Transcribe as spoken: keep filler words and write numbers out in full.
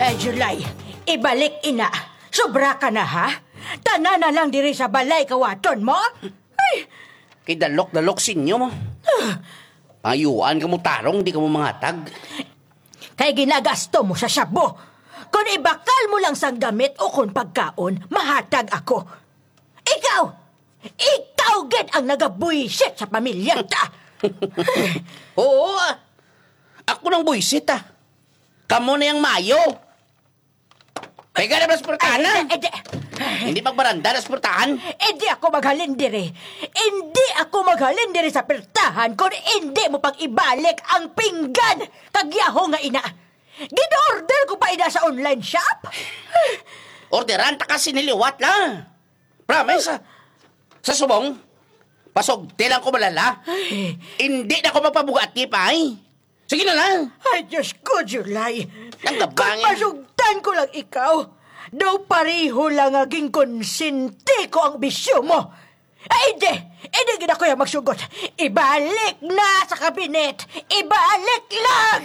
Eh, July, ibalik ina. Sobra ka na, ha? Tanan na lang diri sa balay kawaton mo? Ay, Kay dalok-dalok sinyo mo. Pangayuan ka mo tarong, di ka mo mangatag. Kay ginagasto mo sa shabu. Kung ibakal mo lang sang gamit o kung pagkaon, mahatag ako. Ikaw! Ikaw gid ang nagabuisit sa pamilya ta! Oo, ah. Ako nang buisit, ah. Kamo na yung mayo. Pega na mas purtahan na. Eh, di, Hindi magbaranda na sa purtahan. eh, di ako maghalin diri. Hindi ako maghalin diri sa pirtahan kung hindi mo pag-ibalik ang pinggan kag yaho nga ina. Gin-order ko pa ina sa online shop. Orderan ta kasi niliwat lang. Promise, ah. Sa subong, pasugti lang ko malala. Hindi na ko magpabugati pa, eh. Sige na lang. Ay, Diyos ko, July. Ang gabangin. Kung masugtan ko lang ikaw, daw pareho lang nga ginkonsente ko ang bisyo mo. Ay, hindi! Hindi gid ako yung magsugot. Ibalik na sa kabinet! Ibalik lang!